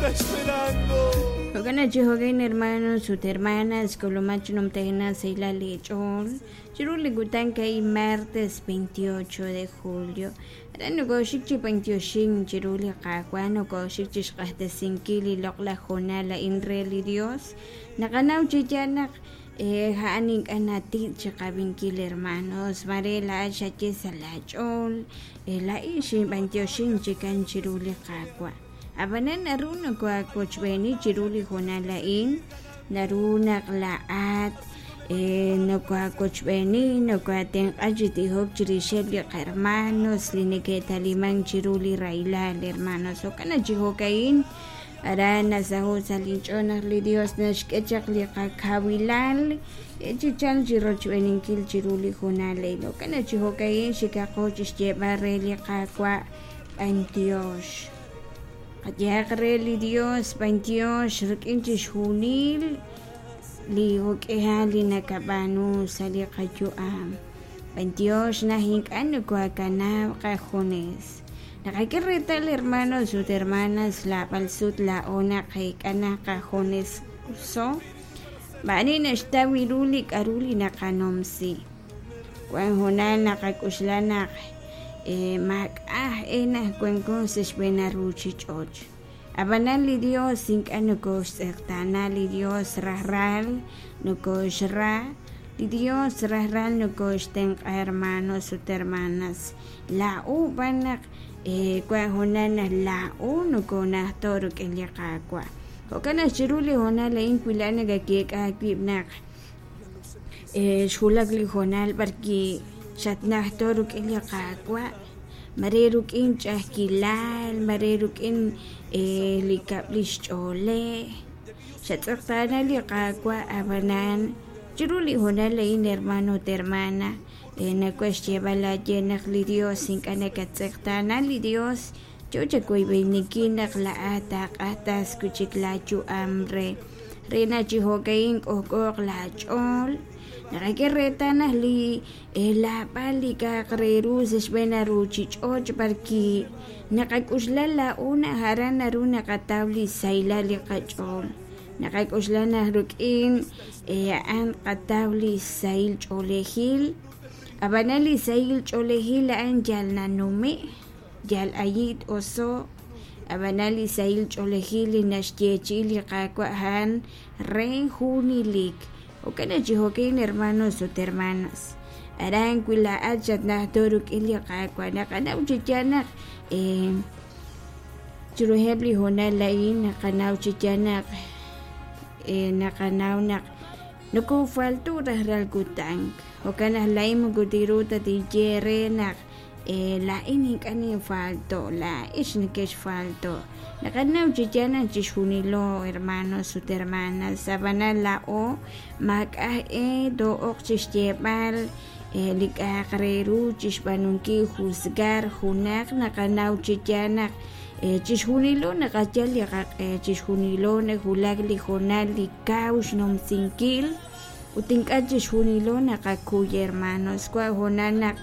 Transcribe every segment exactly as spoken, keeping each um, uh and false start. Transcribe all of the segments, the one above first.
está esperando. Jo'kan chi jo'kan hermanos ut hermanas kulumach numtejna seila lech'ol chiru li kutan kay martes veintiocho de julio aran nokoxik chi b'antioxin chiru li Qaawa' nokoxik chi xq'axtesinkil li loq'laj jonal a'in re li Dios naqanaw chi yaal naq ja'an ink'a' nati' chiqab'inkil hermanos mare la'at xaye sa' laach'ool la'in xinb'antioxin chikan chiru li Qaawa' ab'anan naru nokoawochb'eeni chiru li jonal a'in naru naq la'at nokoawochb'eeni nokoatenq'a chi tijok chirixeb' li qahermanos li neke'taliman chiru li rahilal hermanos jo'kan chi jo'ka'in aran nasaho' sa' linch'ool naq li Dios naxk'e chaq li qakawilal chi chal chi rochb'eeninkil chiru li jonal a'in jo'kan chi jo'ka'in xikaqo chi xyeeb'al re li Qaawa' b'antiox qayehaq re li Dios b'antiox rik'in chixjunil li jok'ehal li nakab'aanu sa' li qayu'am b'antiox naj ink'a' nokoakanab' qajunes naqak'e reetal hermanos ut hermanas lab'al sut la'o naqek'a naq qajunes so ma'ani naxtaw ru li k'aru li naqanumsi wan jonal naqak'uxla naq maak'aj e naj wanko sa' xb'een ruchich'och' ab'anan li Dios ink'a' nokoxtz'eqtaana li Dios rajlal nokoxra li Dios rajlal nokoxtenq'a hermanos ut hermanas la'o b'an naq wan jonal naq la'o nokonajto' rik'in li Qaawa' jo'kan naq chiru li jonal a'in wila' nakakek'a aawib' naq xwulak li jonal b'arki xatnajto' rik'in li Qaawa' mare rik'in ch'a'ajkilal mare rik'in li kab'li xch'oolej xatz'eqtaana li Qaawa' ab'anan chiru li jonal a'in hermano ut hermana nakuaj xyeeb'al aaye naq li Dios ink'a' nakatz'eqtaana li Dios yo chawoyb'eeninkil naq la'at taaq'ajtas wi' chik laayu'am re re naq chi jo'ka'in k'ojk'ooq laach'ool naqak'e reetal naq li lab'al li k'a'aq re ru sa' xb'een ruchich'och' b'arki naqak'uxla la'o naq aran naru naqataw li sahilal li qach'ool naqak'uxla naq rik'in a'an qataw li sahil ch'oolejil ab'anan li sahil ch'oolejil a'an yal nanume' yal ayit oso' ab'anan li sahil ch'oolejil li naxyeechi'i li Qaawa' a'an re junilik jo'kan chi jo'kan hermanos ut hermanas aran wi la'at xatnajto' rik'in li Qaawa' naqanaw chi yaal naq chiruheb' li jonal a'in naqanaw chi yaal naq naqanaw naq nokofalto rajlal kutan jo'kan naq la'in moko tiru ta tinye re naq la'in ink'a' ninfalto' la'ix nekexfalto' naqanaw chi yaal naq chixjunilo hermanos ut hermanas ab'anan la'o maak'aj e too'oq chixyeeb'al li k'a'aq re ru chixb'aanunkil juzgar junaq naqanaw chi yaal naq chixjunilo naqayal li qaq'e chixjunilo nawulak li jonal li kaw xnumsinkil ut ink'a' chixjunilo naqakuy hermanos wa jonal naq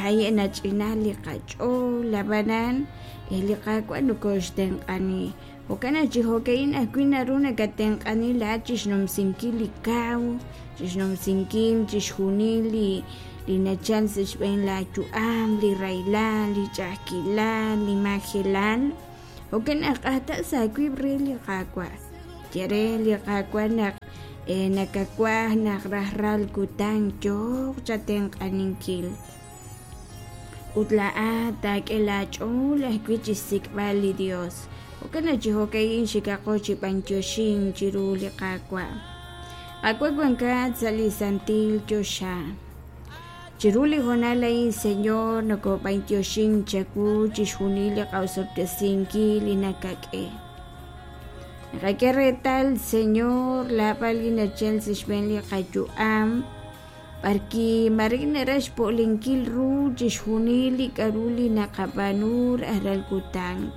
haye' nach'ina li qach'ool ab'anan li Qaawa' nokoxtenq'ani jo'kan naq chi jo'ka'in ajwi' naru nakatenq'ani la'at chixnumsinkil li kaw chixnumsinkil chixjunil li li nachal sa' xb'een laayu'am li rahilal li ch'a'ajkilal li majelal jo'kan naq q'ajta' sa' aawib' re li Qaawa' ye re li Qaawa' naq nakawaj naq rajlal kutan yooq chatenq'aninkil ut la'at taak'e laach'ool ajwi' chixsik'b'al li Dios jo'kan naq chi jo'ka'in xikaqo chi b'antioxin chiru li Qaawa' Qaawa' wankat sa' li santil choxa chiru li jonal a'in Señor nokob'antioxin chawu chixjunil li qawsob'tesinkil li nakak'e naqak'e reetal Señor lab'al li nachal sa' xb'een li qayu'am b'arki mare naraj xpo'linkil ru chixjunil li k'aru li naqab'aanu rajlal kutan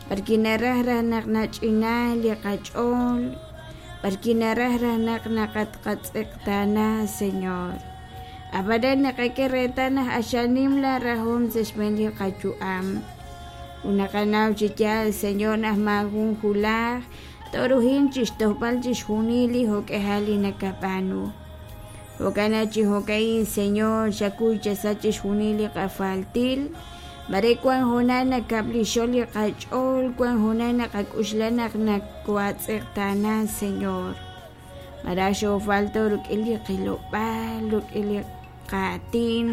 b'arki naraj raj naq nach'ina li qach'ool b'arki naraj raj naq naqatqatz'eqtaana Señor ab'anan naqak'e reetal naq axanim la rajom sa' xb'een li qayu'am Ut naqanaw chi yaal, Señor, naq maajun julaj toruhin chixtojb'al chixjunil li jo'k'ejal li nakab'aanu. Jo'kan naq chi jo'ka'in, Señor, xakuy chasa chixjunil li qafaltil. Mare wan hoonal nakab'lixol li qach'ool, wan hoonal naqak'uxla naq nakoatz'eqtaana, Señor. Maraj xoofalto rik'in li qilob'aal, rik'in li qaatin,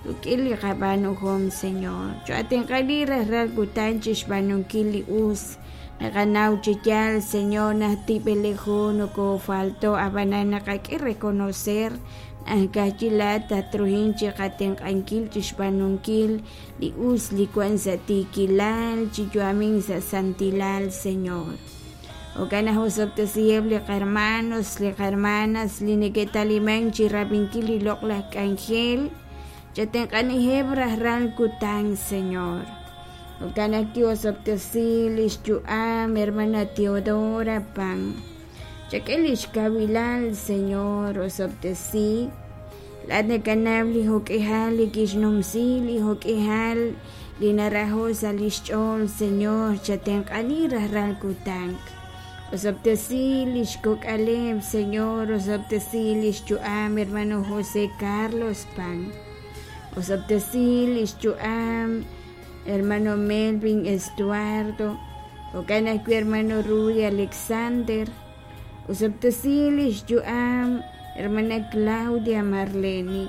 rik'in li qab'aanuhom, Señor. Cho'atenq'ali rajlal kutan chixb'aanunkil li us. Naqanaw chi yaal, Señor, naq tib'elejo nokofalto ab'anan naqak'e reconocer naq ka'ajwi' laa'at tatruhin chi qatenq'ankil chixb'aanunkil li us li wan sa' tiikilal, chi yu'amink sa' santilal, Señor. Jo'kan naq osob'tesiheb' li qarmanos, li qarmanas li neke'talimank chi rab'inkil li loq'laj k'anjel, chatenq'aniheb' rajlal kutan, Señor. Jo'kan naq ki'osob'tesi lix yu'am hermana Teodora Pan. Chak'e lix kawilal, Señor, osob'tesi. Laa'at nakanaw li jo'k'ihal li kixnumsi, li jo'k'ihal li narajo' sa' lix ch'ool, Señor, chatenq'ani rajlal kutan. Osob'tesi lix kok'aleb', Señor, osob'tesi lix yu'am hermano José Carlos Pan. Osob'tesi lix yu'am hermano Melvin Estuardo, jo'kan ajwi' hermano Rudy Alexander. Osob'tesi lix yu'am hermana Claudia Marleni.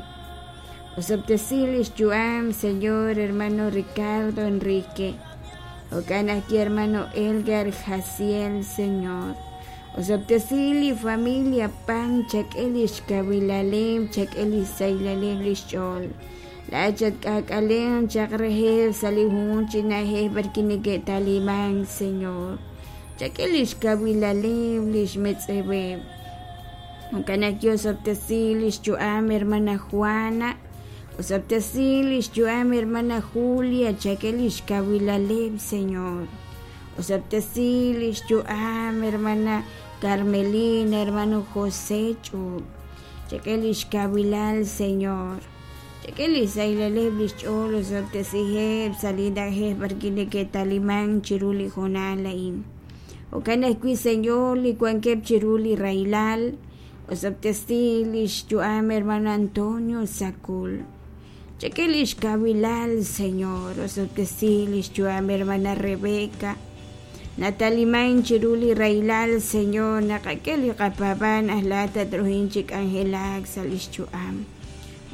Osob'tesi lix yu'am, Señor, hermano Ricardo Enrique. Jo'kan ajwi' hermano Elgar Jaciel, Señor. Osob'tesi li familia Pan, chak'e lix kawilaleb', chak'e lix sahilal lix ch'ool. Laa'at chatk'aak'alen chaq reheb' sa' li junjunq chi na'ajej b'arwi' neke'talimank, Señor. Chak'e lix kawilaleb', lix metz'eweb'. Jo'kan ajwi' osob'tesi lix yu'am hermana Juana, osob'tesi lix yu'am hermana Julia, chak'e lix kawilaleb', Señor. Osob'tesi lix yu'am hermana Carmelina, hermano José Ch'ub', chak'e lix kawilal, Señor. Chak'e li sahilal lix ch'ool, osob'tesiheb' sa' li na'ajej b'arwi' neke'talimank chiru li hoonal a'in. Jo'kan ajwi', Señor, li wankeb' chiru li rahilal, osob'tesi lix yu'am hermano Antonio Sacul. Chak'e lix kawilal, Señor, osob'tesi lix yu'am hermana Rebeca. Nataliman chiru li rahilal, Señor, naqak'e li qapaab'aan aj laa'at tatruhin chi k'anjelak sa' lix yu'am.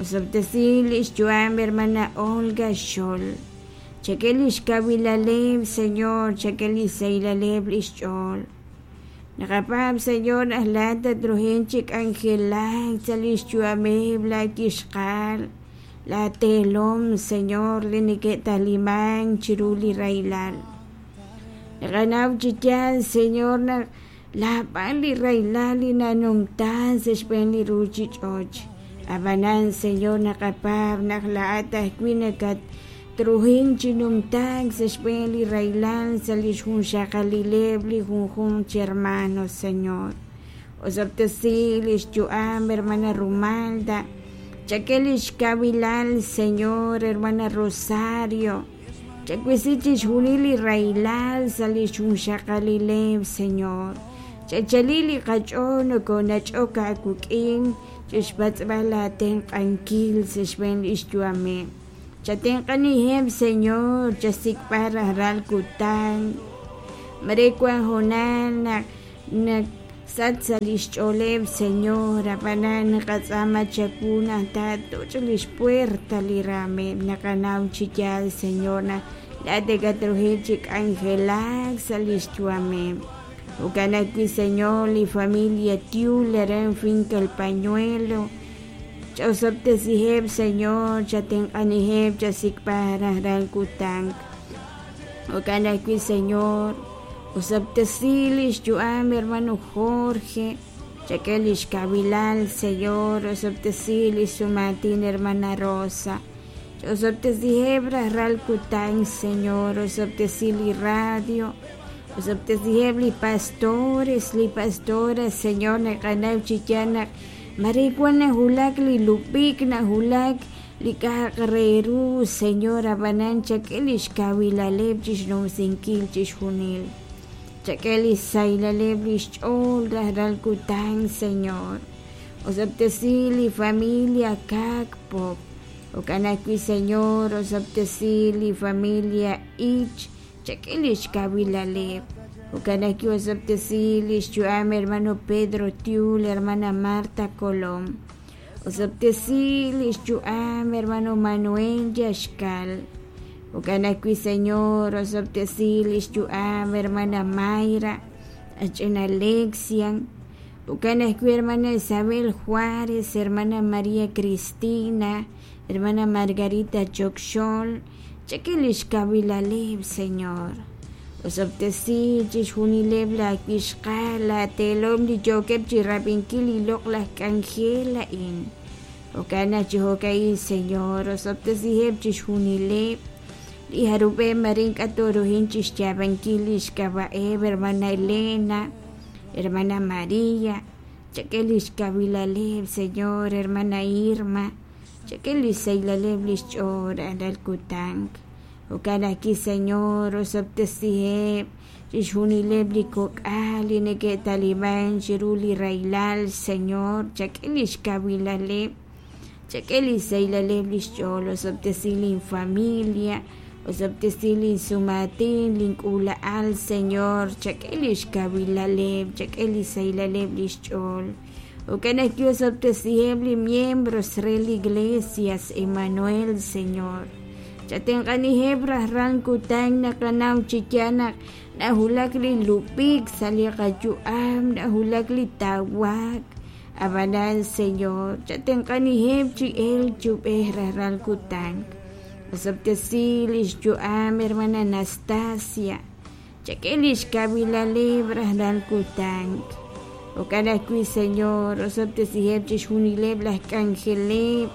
Osob'tesi lix yu'am hermana Olga Xol. Chak'e lix kawilaleb', Señor, chak'e li sahilaleb' lix ch'ool. Naqapaab', Señor, naq laa'at tatruhin chi k'anjelak sa' lix yu'ameb' la kixqal, la teelom, Señor, li neke'talimank chiru li rahilal. Naqanaw chi yaal, Señor, naq laab'al li rahilal li nanumta sa' xb'een li ruuchich'och'. Ab'anan, Señor, naqapaab' naq laa'at ajwi' nakatruhin chi numtaak sa' xb'een li rahilal sa' lix junxaqalileb' li junjunq chi hermano, Señor. Osob'tesi lix yu'am hermana Rumalda, chak'e lix kawilal, Señor, hermana Rosario. Chakwisi chixjunil li rahilal sa' lix junxaqalileb', Señor. Chachali li qach'ool nokonach'ok aawik'in chixpatz'b'al aatenq'ankil sa' xb'een lix yu'ameb'. Chatenq'aniheb', Señor, chasik'b'al rajlal kutan. Mare wan hoonal naq naq sach sa' lix ch'ooleb', Señor, ab'anan naqatz'aama chawu naq taatuch' lix puerta li raameb'. Naqanaw chi yaal, Señor, naq laa'at nakatruhin chi k'anjelak sa' lix yu'ameb'. Jo'kan ajwi', Señor, li familia Tiul aran Finca El Pañuelo. Ch'osob'tesiheb', Señor, chatenq'aniheb', chasik'b'al rajlal kutan. Jo'kan ajwi', Señor, osob'tesi lix yu'am hermano Jorge, chak'e lix kawilal, Señor, osob'tesi lix sumaatin hermana Rosa. Ch'osob'tesiheb' rajlal kutan, Señor, osob'tesi li radio, osob'tesiheb' li pastores, li pastoras, Señor, naqanaw chi yaal naq mare wan najulak li lub'ik, najulak li k'a'aq re ru Señor ab'anan chak'e lix kawilaleb' chixnumsinkil chixjunil chak'e li xsahilaleb' li xch'ool rajlal kutan Señor osob'tesi li familia Kak Pop jo'kan ajwi' Señor osob'tesi li familia Ich chak'e lix kawilaleb' jo'kan ajwi' osob'tesi li xyu'am hermano Pedro Tiul hermana Marta Colom osob'tesi li xyu'am hermano Manuel Yaxkal jo'kan ajwi' Señor osob'tesi li xyu'am hermana Mayra ach'ina Alexian jo'kan ajwi' hermana Isabel Juárez hermana María Cristina hermana Margarita Chokxol chak'e lix kawilaleb' Señor osob'tesi chixjunileb' la wixqal la teelom li yookeb' chirab'inkil li loq'laj k'anjel a'in jo'kan naq chi jo'ka'in Señor osob'tesiheb' chixjunileb' li jarub'eb' marin k'atoruhin chixyaab'ankil lix k'ab'a'eb' hermana Elena hermana María chak'e lix kawilaleb' Señor hermana Irma chak'e lix sahilaleb' lix ch'ool rajlal kutan jo'kan ajwi' Señor osob'tesiheb' chixjunileb' li kok'al li neke'taliban chiru li rahilal Señor chak'e lix kawilaleb' chak'e li xsahilaleb' lix ch'ool osob'tesi lin familia osob'tesi lin sumaatin lin k'uula'al Señor chak'e lix kawilaleb' chak'e li xsahilaleb' lix ch'ool jo'kan ajwi' osob'tesiheb' li miembros re li Iglesias Emmanuel Señor chatenq'aniheb' rajlal kutan naqanaw chi yaal naq najulak li lub'ik sa' li qayu'am najulak li tawaak ab'anan Señor chatenq'aniheb' chi elk chub'ej rajlal kutan osob'tesi lix yu'am hermana Anastasia chak'e lix kawilaleb' rajlal kutan jo'kan ajwi' Señor osob'tesiheb' chixjunileb' laj k'anjeleb'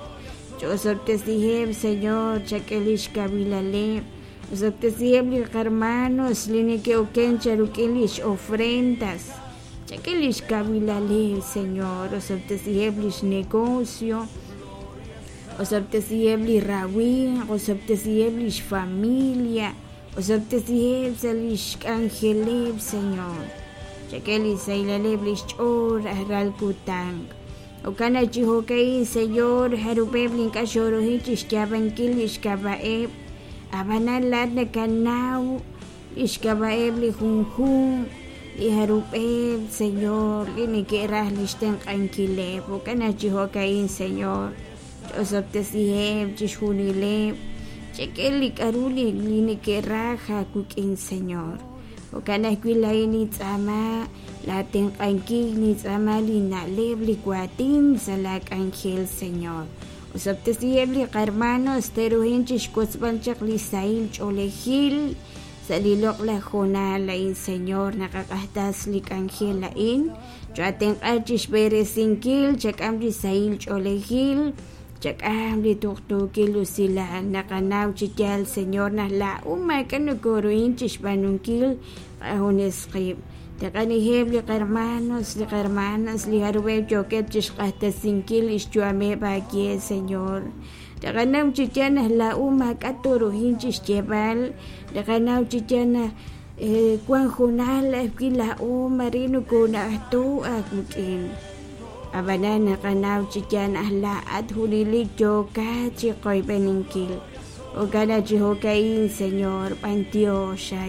osob'tesiheb' Señor chak'e lix kawilaleb' osob'tesiheb' li qarmanos li neke'oken charuk'in lix ofrendas chak'e lix kawilaleb' Señor osob'tesiheb' lix negocio osob'tesiheb' li rawimq osob'tesiheb' lix familia osob'tesiheb' sa' lix k'anjeleb' Señor chak'e li xsahilaleb' lix ch'ool rajlal kutan jo'kan naq chi jo'ka'in Señor jarub'eb' li ink'a' xorohin chixyaab'ankil lix k'ab'a'eb' ab'anan laat nakanaw lix k'ab'a'eb' li junjunq li jarub'eb' Señor li neke'raj lix tenq'ankileb' jo'kan naq chi jo'ka'in Señor osob'tesiheb' chixjunileb' chak'e li k'aru li li neke'raj aawik'in Señor jo'kan ajwi' laa'in nintz'aama la tenq'ankil nintz'aama li na'leb' li waatin sa' la k'anjel Señor osob'tesiheb' li qarmanos teruhin chixwotzb'al chaq li sahil ch'oolejil sa' li loq'laj hoonal a'in Señor naqaq'ajtas li k'anjel a'in cho'atenq'a chixb'eresinkil chak'am li sahil ch'oolejil chak'am li tuqtuukil usilal naqanaw chi yaal Señor naq laa'u maak'a' nokoruhin chixb'aanunkil qajunes qib' tenq'aniheb' li qarmanos li qarmanas li jarub'eb' yookeb' chixq'ajtasinkil lix yu'ameb' aawe Señor taqanaw chi yaal naq laa'u maak'a' toruhin chixyeeb'al taqanaw chi yaal naq wan junal ajwi' laa'u mari nokona'ajto aawik'in ab'anan naqanaw chi yaal naq laa'at junelik yookat chi qoyb'eninkil jo'kan naq chi jo'ka'in Señor b'antiox.